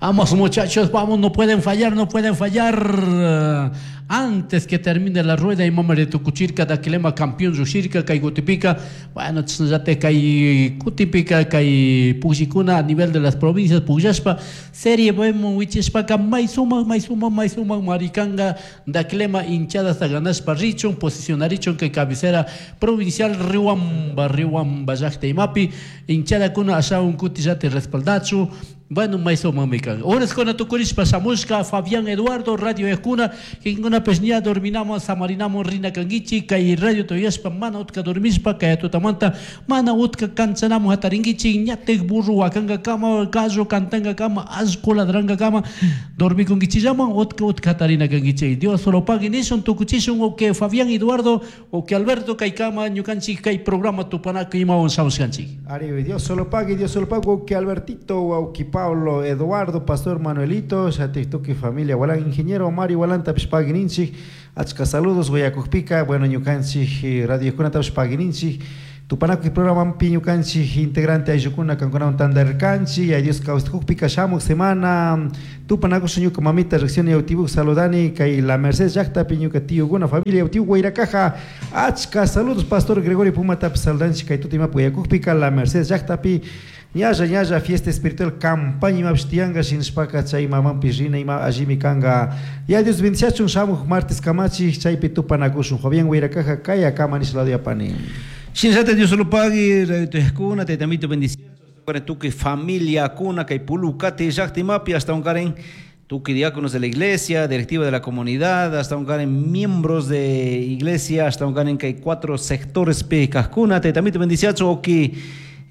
Vamos muchachos, vamos, no pueden fallar, no pueden fallar. Antes que termine la rueda imamari tukuchirka Daquilema campeón llushirka kay kutipika. Bueno, chashnallata kay kutipika kay pukllikuna a nivel de las provincias pukllashpa Serie Bman wichishpaka may sumak, may sumak, may sumak marikanga Daquilema hinchadasta ganashpa richun, posicionarichun kay cabecera provincial Riobamba, Riobamba llakta imapi hinchadakuna ashawan kutillata respaldachu. Bueno, may sumakmi kan. Horaskuna tukurishpa shamushka Fabián Eduardo radio yajkuna, kikinkunapish ña dorminaman, samarinaman rina kankichik, kay radio tuyashpa mana utka dormishpa kay tutamanta mana utka kanchanaman jatarinkichik, ñatik burro wakankakama, gallo cantankakama, allku ladrankakama dormikunkichillaman utka utka jatarina kankichik. Dios solo pagui nishun, tukuchishun, uke Fabián Eduardo, uke Alberto kaykama ñukanchik kay programa tupanakuy imawan shamushkanchik. Ari, Dios solo pague, Dios solo pague, uke Albertito, uke Pablo, Eduardo, Pastor Manuelito, shatik tukuy familia, walan ingeniero Mario walantapish pagui ninchik, achka saludos uyakukpika, bueno, ñukanchik radiokunatapish pagui ninchik, tupanakuy programanpi ñukanchik integrante ayllukuna kankunawan tandarirkanchik, ya Dios kawsakukpika shamuk semana tupanakushun ñuka mamita riqsini Yautibuk saludani kay La Merced llaktapi ñuka tiyukuna familia Yautibuk Guairacaja achka saludos Pastor Gregorio Pumatapish saludanchik kay tuta imapi uyakukpika La Merced llaktapi ñalla ñalla fiesta espiritual campaña imapish tiyanka shinashpaka chay mamanpish rina ima allimi kanka ya Dios bendiciachun shamuk martes kamachik chaypi tupanakushun Fabián Guairacaja kaya kama nish lado yapani. Shinallata Dios solo pagui, radio tuyajkuna, taytamito bendiciachun, tukuy familiakuna kay Pulucate llakta imapi hasta karen tukuy diáconos de la iglesia, directiva de la comunidad, hasta karen miembros de iglesia, hasta karen kay cuatro sectores pi kajkuna, taytamito bendiciachun, oki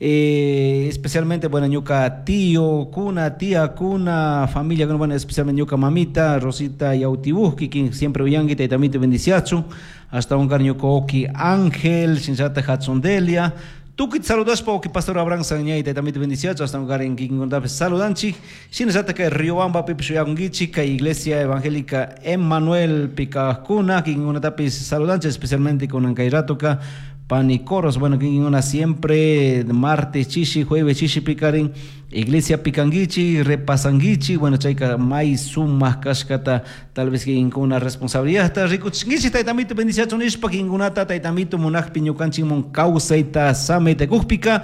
especialmente, bueno, ñuka tío, kuna, tía, kuna, familia, bueno, especialmente ñuka mamita, Rosita Yautibuski, quien siempre uyangi, taytamito bendiciachun, hasta un ñuka oki Ángel, shinallata Hatsondelia, Tukuyta saludashpa oki Pastor Abraham Sanñay, taytamito bendiciachun, hasta un karen kikinkunatapis saludanchik, shinallata kay Riobamba pipish uyakunkichik, kay Iglesia Evangélica Emmanuel pikajkuna, kikinkunatapis saludanchik, especialmente kunan kay ratoka, panicoros, bueno, kikinkuna siempre martes chishi, jueves chishi pikarin, iglesia pikanguichi, repasanguichi, bueno, chayka may sumak kashkata, tal vez kikinkuna responsabilidad rikuchinkichik, taytamito bendiciachun nishpa, kikinkunata taytamito munakpi ñukanchikmun kawsayta samayta kukpika,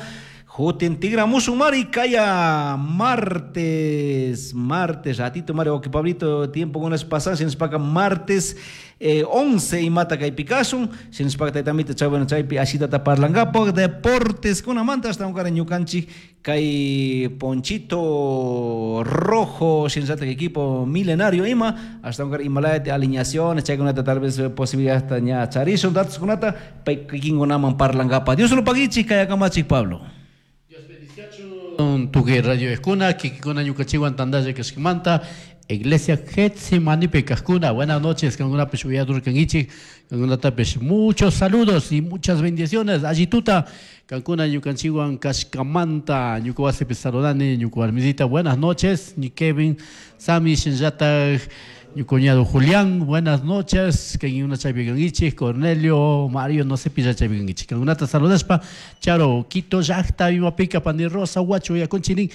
Jutin tigramushun mari kaya martes, martes, ratito mari, oki Pablito, tiempo kunas pasan, shinashpaka martes 11 imata kaypi kashun, shinashpaka taytamito chay, bueno, chaypi ashitata parlankapaq, deportes kunamanta hasta unkara ñukanchik kay Ponchito Rojo, shinallata equipo milenario ima, hasta unkara imalayati alineaciones, chaykunata tal vez posibilidad hasta ña charishun, datos kunata, pay kikinkunaman parlankapaq. Dios lo paguichik, kaya kamachik Pablo. Tukuy radio eskuna, kikikuna ñukanchikwan tandalla kashkamanta, Iglesia Getsemanipi kajkuna. Buenas noches, kankunapish uyadurkankichik, kankunatapish muchos saludos y muchas bendiciones. Allituta, kankuna ñukanchikwan kashkamanta, ñuka wasipi saludani, ñuka warmisita, buenas noches, ni Kevin, Sami, shinllatak, mi cuñado Julián, buenas noches, que una chaypi kankichik, Cornelio, Mario, no sé pilla chaypi kankichik. Kankunata saludashpa, Charo, Quito, llakta, Imapika, Pani Rosa, Huacho, Yaconchinin,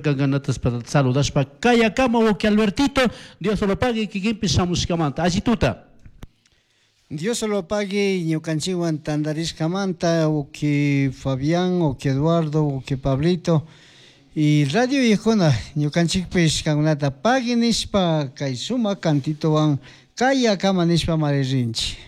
kankunata saludashpa, Kayakama, Uki Albertito, Dios lo pague, kikinpi shamushkamanta, allituta. Dios lo pague, ñukanchikwan tandarishkamanta, uki Fabián, uki Eduardo, uki Pablito, y radio viejona, ñukanchikpish kankunata pagui nishpa, kay sumak cantitowan, kaya kama nishpa maririnchik.